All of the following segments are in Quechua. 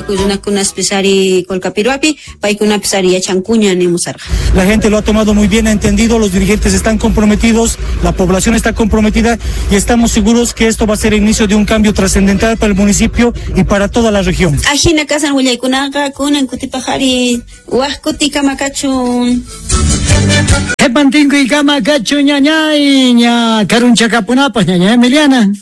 Runakunaspis ari Colcapirhuapi, paykunapis ari yachankuña nimusarqa. La gente lo ha tomado muy bien, ha entendido, los dirigentes están comprometidos, la población está comprometida y estamos seguros que esto va a ser el inicio de un cambio trascendental para el municipio y para toda la región. Ajina kasan willaykunaqa kunan kutipaq ari waq kutikama kachun. Qhipan tinkuykama kachun, ñañay, ña karunchakapunapaq, ñaña Emiliana.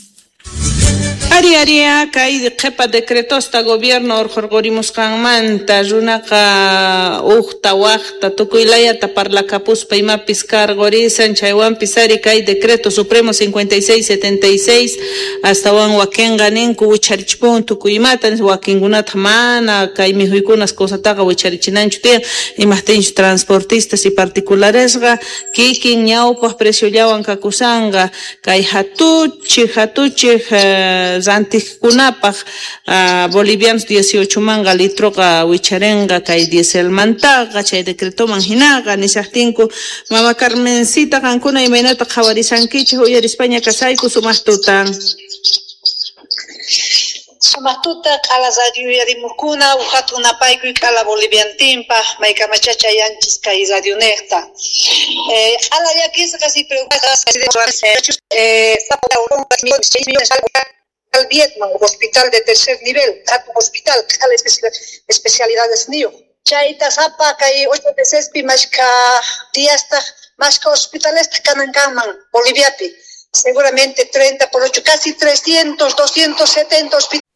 Ari aria kay qhipa decretosta gobierno urqurqurimusqanmanta runaqa uqta waqta tukuy layata parlakapuspa imapis karqurisan chaywanpis ari kay decreto supremo 5676 astawan wakinqa ninku wicharichipun tukuy imata wakinkunataq mana kay mikhuykunas cosataqa wicharichinanchu tiyan imaqtinchu transportistas y particularesqa kikin ñawpaq preciollawan kakusanqa kay hatuchik hatuchik rantiqkunapaq bolivianos 18 manqa litroqa wicharinqa kay dieselmantaqa chay decretoman hinaqa nishaqtinku. Mama Carmencita, qankuna imaynata qhawarisankichik? Uyarispaña kasayku, sumaq tutan. Sumaq tuta, q'ala radio uyarimuqkuna, hatun napaykuy q'ala boliviantinpaq maykamacha chayanchis kay radionejta. Q'ala llakisqas y preocupadas al Vietnam, hospital de tercer nivel, hatun hospital, q'ala especialidades niyuq. Chayta sapa kay 8 mesespi mashka diastaq mashka hospitalesta kanan kanman Boliviapi. Seguramente 30 por 8, casi 300, 270 hospitales.